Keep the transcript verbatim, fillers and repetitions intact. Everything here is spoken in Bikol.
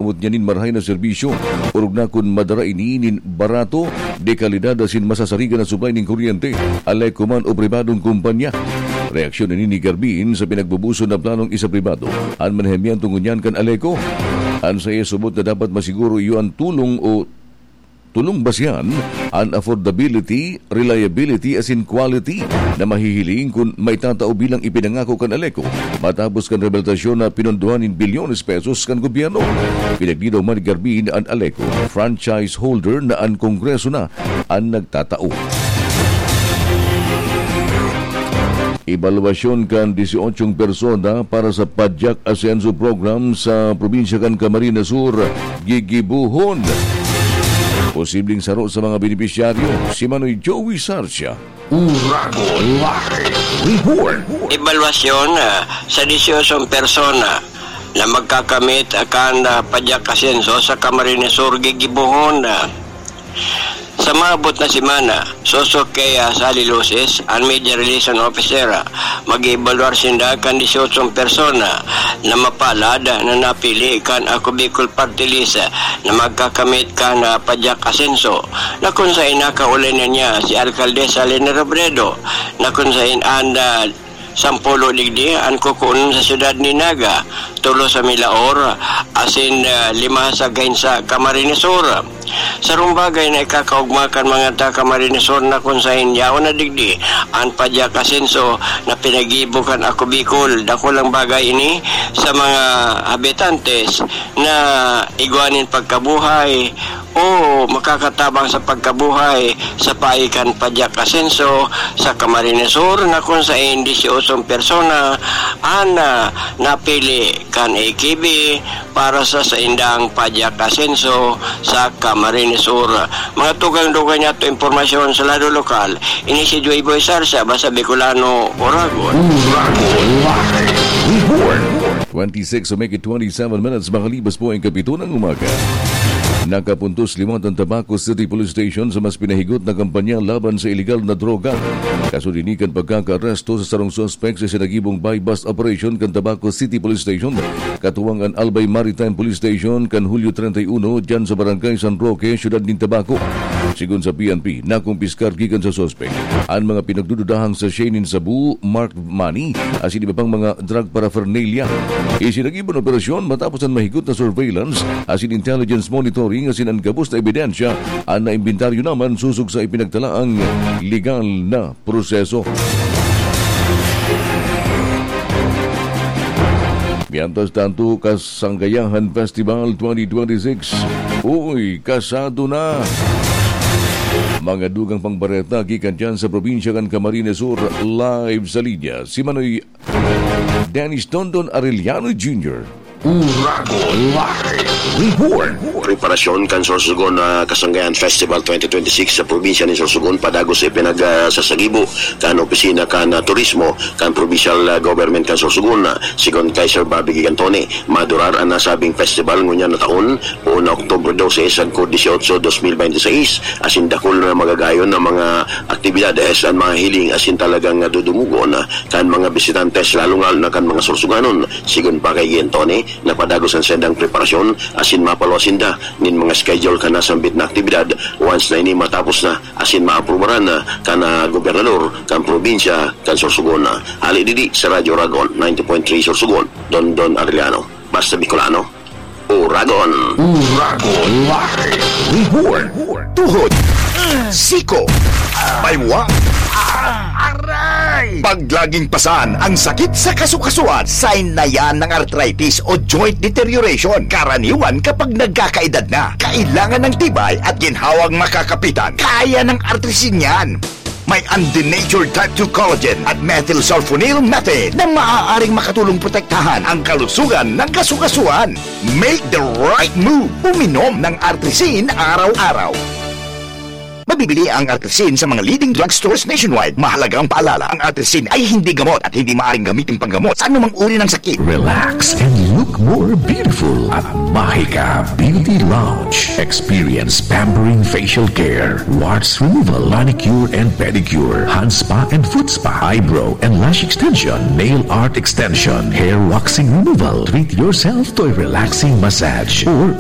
magpaabot niya nin marahay na serbisyo, orog na kun madara ini nin barato, de kalidad asin masasarigan na supply nin kuryente, Aleco man o pribadong kumpanya. Reaksyon ini ni Garbin sa pinagbubuson na planong isa pribado an manahimiento ngunyan kan Aleco. An saiya subot na dapat masiguro iyo an tulong o tulong basihan, an affordability, reliability asin quality na mahihiling kun maitatao bilang ipinangako kan Aleco matapos kan rehabilitasyon na pinondohan nin bilyones pesos kan gobyerno. Pinaglinaw man ni Garbin an Aleco, franchise holder na an Kongreso na an nagtatao. Ebalwasyon kan dieciocho persona para sa Padyak Asenso Program sa probinsya kan Camarines Sur gigibohon. Posibleng saro sa mga benepisyaryo, si Manoy Joey Sarcia. Uragon Live Report. Ebalwasyon, ah, sa dieciocho persona na magkakamit kan, ah, Padyak Asenso sa Camarines Sur gigibohon, ah, sa maabot na semana. Sosog kay, ah, Sally Luces, an Media Relation Officer, ah, mag-eebaluar sinda kan dieciocho persona na mapalad na napili kan Ako Bicol Party List, ah, na magkakamit kan, ah, Padyak Asenso, na kun saen nakaulay na niya si Alcaldesa Leni Robredo, na kun saen an, ah, sampulo digdi an kukuon sa siyudad ni Naga, tulo sa Milaor, asin, ah, lima sa Gainsa, Camarines Sur. Sarong bagay na ikakaogma kan mga taga Camarines Sur na kun saen yaon na digdi an Padyak Asenso na pinagibo kan Ako Bicol. Dakulang bagay ini sa mga habitantes na igwa nin pagkabuhay o makakatabang sa pagkabuhay sa paagi kan Padyak Asenso sa Camarines Sur, na kun saen dieciocho persona an, ah, napili kan A K B para sa saindang Padyak Asenso sa Camarines Sur. Mga tugang-dugang niyato impormasyon sa lado lokal, ini si Joy Boy Sarsa, Basta Bicolano, Oragon. Uragon Live Report. Twenty-six o make it twenty-seven minutes makalipas po ang kapito ng umaga. Nakapuntos liwat ang Tabaco City Police Station sa mas pinahigot na kampanya laban sa iligal na droga. Kasunod ini kan pagkakaaresto sa sarong suspek sa isinagibong buy-bust operation kan Tabaco City Police Station, katuwang an Albay Maritime Police Station kan Hulyo treinta y uno, dyan sa Barangay San Roque, Siyudad nin Tabaco. Sigon sa P N P, nakumpiskar gikan sa suspek an mga pinagdududahang sachet nin sabu, marked money, asin iba pang mga drug paraphernalia. Isinagib an operasyon matapos an mahigot na surveillance asin intelligence monitoring asin an gabos na ebidensya an naimbentaryo naman sosog sa ipinagtalaang legal na proseso. Mientras tanto, Kasanggayahan Festival twenty twenty-six. Uy, kasado na! Mga dugang pang bareta gikan dyan sa probinsya kan Camarines Sur, live sa linya si Manoy Dennis Dondon Arellano Junior. Uragon Live Report. Preparasyon kan Sorsogon na Kasanggayan Festival twenty twenty-six sa probinsya nin Sorsogon padagos ipinagsasagibo kan opisina kan, ah, turismo kan provincial, ah, government kan Sorsogon. Sigon kay Sir Bobby Gigantone, madurar an nasabing festival ngunyan na taon, poon na Oktubre dose sagkod dieciocho, dos mil bente seis, asin dakul na magagayon na mga aktibidades an mahihiling asin talagang nadudumugon kan mga bisitantes, lalong-lalo na kan mga Sorsoganon. Sigon pa kay Gigantone, napadagos an saindang preparasyon asin mapaluwas sinda nin mga schedule kan nasambit na aktibidad once na ini matapos na asin maaprubaran na kan, ah, gobernador kan probinsya kan Sorsogon. Hali digdi sa Radyo Uragon, ninety point three Sorsogon, Dondon Arellano. Basta Bicolano, Uragon. Uragon Live Report. Tuhod, siko, baywa, aray! Pag laging pasan ang sakit sa kasukasuan, sign na yan ng arthritis o joint deterioration. Karaniwan kapag nagkakaedad na, kailangan ng tibay at ginhawang makakapitan. Kaya ng Artrisin yan. May undenatured type two collagen at methylsulfonyl methane na maaaring makatulong protektahan ang kalusugan ng kasukasuan. Make the right move. Uminom ng Artrisin araw-araw. Mabibili ang Artesin sa mga leading drugstores nationwide. Mahalagang paalala, ang Artesin ay hindi gamot at hindi maaaring gamitin panggamot sa anumang uri ng sakit. Relax and look more beautiful at Mahika Beauty Lounge. Experience pampering facial care, warts removal, manicure and pedicure, hand spa and foot spa, eyebrow and lash extension, nail art extension, hair waxing removal. Treat yourself to a relaxing massage or